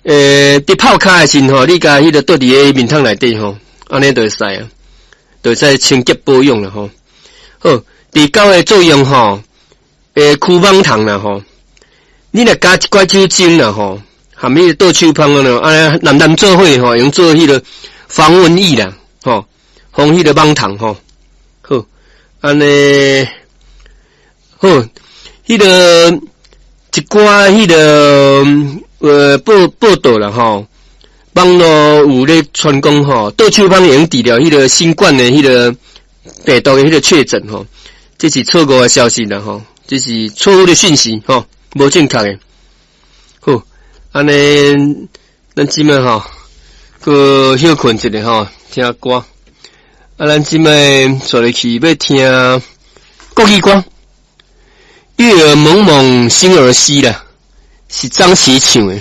佇泡跤的時陣吼，你共彼個倒佇个面桶內底吼，按呢就會使啊，就會使清潔保養啦吼。好，治狗的作用吼，驅蠓蟲啦吼，你若加一寡酒精啦吼，含彼個倒手芳啊，按呢濫濫做伙吼，用做彼個防蚊液啦，吼，防彼個蠓蟲吼。好，按呢好，彼個一寡彼個報報道啦吼，網路有咧傳講吼，倒手芳會用治療彼個新冠的彼個病毒的彼個確診吼，這是錯誤的消息啦吼，這是錯誤的訊息吼，無正確的。好，按呢，咱這擺吼，閣歇睏一下吼，聽歌。啊，咱這擺紲入去欲聽國語歌，月兒濛濛星兒稀啦，是張琪唱的。